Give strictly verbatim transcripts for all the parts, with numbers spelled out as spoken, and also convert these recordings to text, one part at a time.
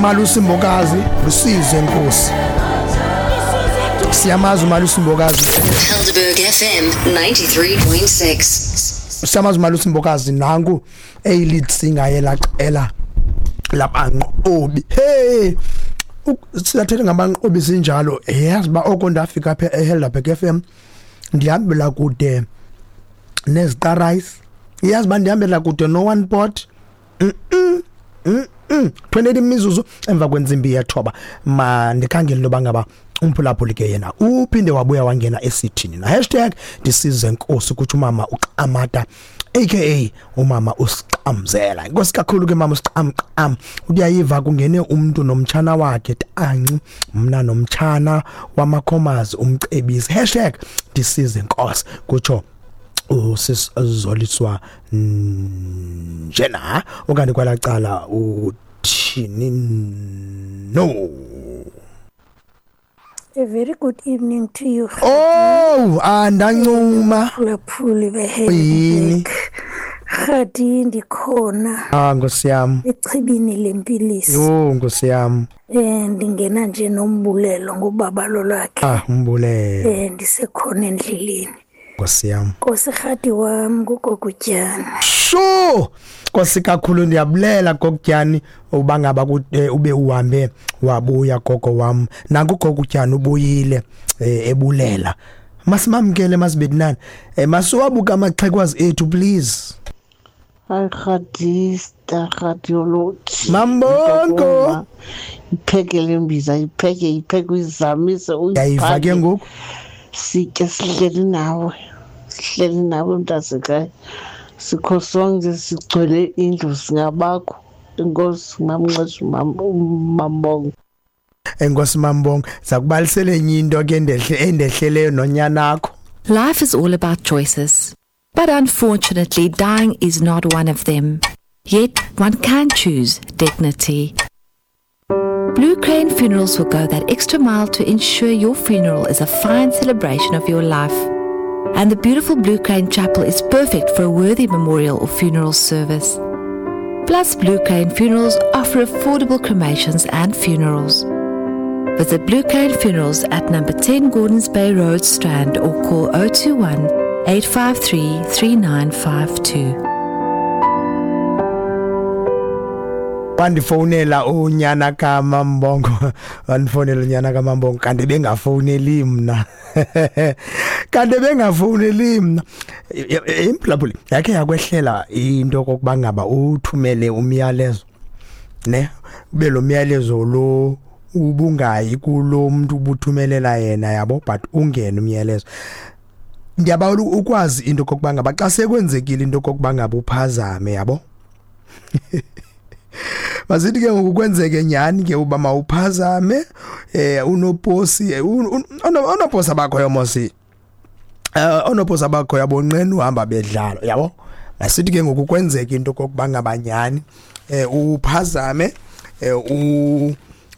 Umalusi Mbokazi usize Nkosi. Siyamazi uMalusi Mbokazi. Helderberg F M ninety-three point six. Siyamazi uMalusi Mbokazi nangu eyi lead singer yelaqela labanqobi. Hey, siyathetha ngabanqobi sinjalo. Yazi ba oko ndafika apha eHelderberg F M ndihambela kude neziqarice. Yazi ba ndihambela kude no one pot. Mm mm. twenty-eight imizuzu emva kwentsimbi yethoba. Ma ndikhangele loba ngaba umphulaphuli ke yena uphinde wabuya wangena esithini na hashtag ndisize Nkosi kuthi umama uQamata aka umama uSiqamzela. Inkosi kakhulu ke mama uSiqamqam, uyayiva kungene umuntu nomtshana wakhe tanci mna nomtshana wamakhomazi umcebisi hashtag ndisize Nkosi kutsho usizoliswa njena okanye kwalacala uthini. No. A very good evening to you. Oh, andancuma. Phulaphuli beHelderberg. Khadi ndikhona. Ah, Nkosi yami. Echibini lempilisi. Yo, Nkosi yami. Eh ndingena nje nombulelo ngobabalo lwakhe. Ah, umbulelo. Eh ndisekhona endleleni. Nkosi yami. Nkosi Khadi wami kugokutyana. Sho! Nkosi kakhulu ndiyabulela gokutyani uba ngaba ube uhambe wabuya gogo wami. Nanku gokutyani ubuyile ebulela. Masimamkele masibedinani. Masiwabuka amaxhekwazi ethu please. Hi Khadista Khadiology. Mambongo. Iphekele imbiza ipheke ipheke uyizamise uyiphake. Ke ngoku. Sitye sihleli nawe. Sihleli nawe mntasekhaya. Sikho sonke sigcwele indlu singabakho. Inkosi mamnxesha Mambongo. Enkosi Mambongo, zakubalisele enye into ke endehle endehleleyo nonyanakho. Life is all about choices. But unfortunately, dying is not one of them. Yet one can choose dignity. Blue Crane Funerals will go that extra mile to ensure your funeral is a fine celebration of your life. And the beautiful Blue Crane Chapel is perfect for a worthy memorial or funeral service. Plus, Blue Crane Funerals offer affordable cremations and funerals. Visit Blue Crane Funerals at number ten Gordons Bay Road, Strand, or call oh two one, eight five three, three nine five two. Wandifonela unyana kaMambongo, wandifonela unyana kaMambongo kanti bengafoneli mna. Kanti bengafoneli mna. Imphulaphuli yakhe yakwehlela into kokuba ngaba uthumele umyalezo ne ube lo myalezo lo ubungayi kulo muntu ubuthumelela yena yabo, but ungene umyalezo. Ndiyabawela ukwazi into kokuba ngaba xa sekwenzekile into kokuba ngaba uphazame yabo. Masithi ke ngokukwenzeke nyani ke uba mawuphazame eh unoposi onoposi abakho yomosi eh onoposi abakho yabonqena uhamba bedlala yabo. Masithi ke ngokukwenzeke into kokuba ngabanyani eh uphazame eh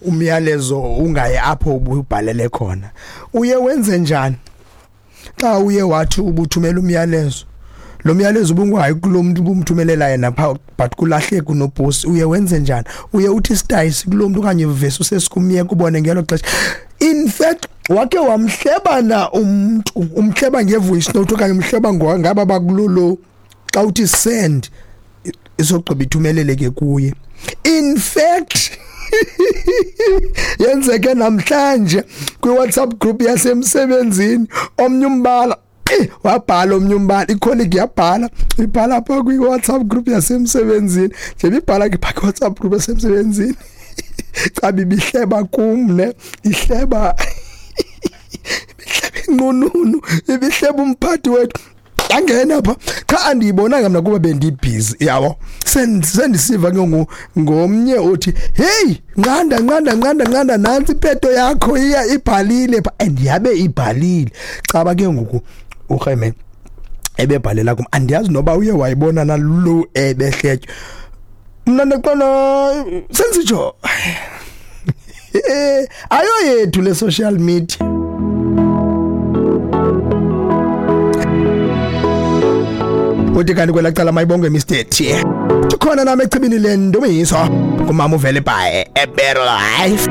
umyalezo ungaye apho ubhalele khona. Uye wenze njani xa uye wathi ubuthumela umyalezo, lo myalezo ubungayi kulo muntu ubumthumelela yena pha but kulahleke unoposi, uye wenze njani? Uye uthi stayisi kulo muntu okanye vese usesikumyeka ubone ngelo xesha. In fact wake wamhlebana umuntu, umhleba ngevoice note okanye umhleba ngaba bakulolo xa uthi send isogqiba ithumeleleke kuye. In fact yenzeke namhlanje kwi-WhatsApp group yasemsebenzini, omnye umbala eh wabhala omnye umbala, icolleague yabhala ibhala apha kwi-WhatsApp group yasemsebenzini, nje ibhala ke pha kwi-WhatsApp group yasemsebenzini cha bibihleba kum ne ihleba ibihleba inqununu ibihleba umphathi wethu angena pha cha andiyibonanga mina kuba bendibhizi yabo. Sendisiva ke ngomnye othi hey nqanda nqanda nqanda nqanda nansi ipeto yakho iya ibhalile pha, and yabe ibhalile caba ke ngoku urheme ebebhalela kum andiyazi noba uye wayibona nalo ebehletyo. Mna ndaqona sensitsho ayo yethu le social media. Uthi kanti kwelacala mayibonge Mister T. Khona nami echibini lendumiso kumama uvele bhaye eBettle Life.